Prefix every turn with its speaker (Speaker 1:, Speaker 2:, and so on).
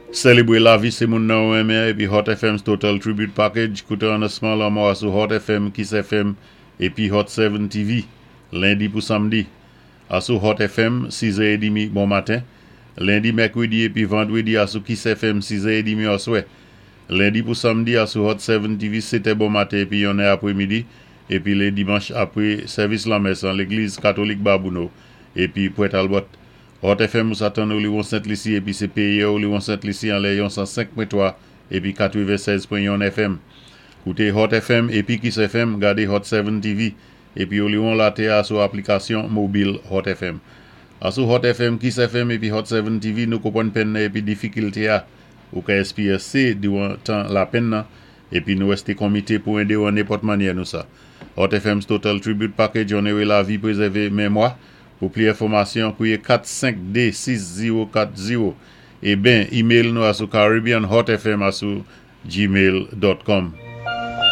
Speaker 1: Sélébwé lavi sé moun nan ou renmen épi Hot FM's Total Tribute Package. Kouté anonsman lanmò a sou Hot FM, Kiss FM épi Hot 7 TV, lendi pou samdi. Asou Hot FM, 6h30 bon maten. Lendi, mèkwédi épi vandwédi asou Kiss FM, 6h30 aswè. Lendi pou samdi asou Hot 7 TV, 7 bon maten épi 1 apwémidi. Épi lé dimanch apwé sèvis lanmès an légliz katolik Babouno épi Port Talbot. Hot FM ou sa tann Oliwon Sent Lisi épi sé péyé Oliwon Sent Lisi an lè yon 105.3 épi 96.1 FM. Kouté Hot FM épi Kiss FM, gadé Hot 7 TV épi Oliwon latè a sou aplikasyon mobil Hot FM. Asou Hot FM, Kiss FM épi Hot 7 TV, nou konpwann penn nan épi difikilté a ou ka éspéryansé diwan tan lapenn nan épi nou wèsté konmité pou édé ou an nenpòt mannyè nou sa. Hot FM's Total Tribute Package onoré lavi, pwézèvé mémwa. Pou pli enfòmasyon, kwié 452 6040 é ben email nou asou caribbeanhotfm@gmail.com.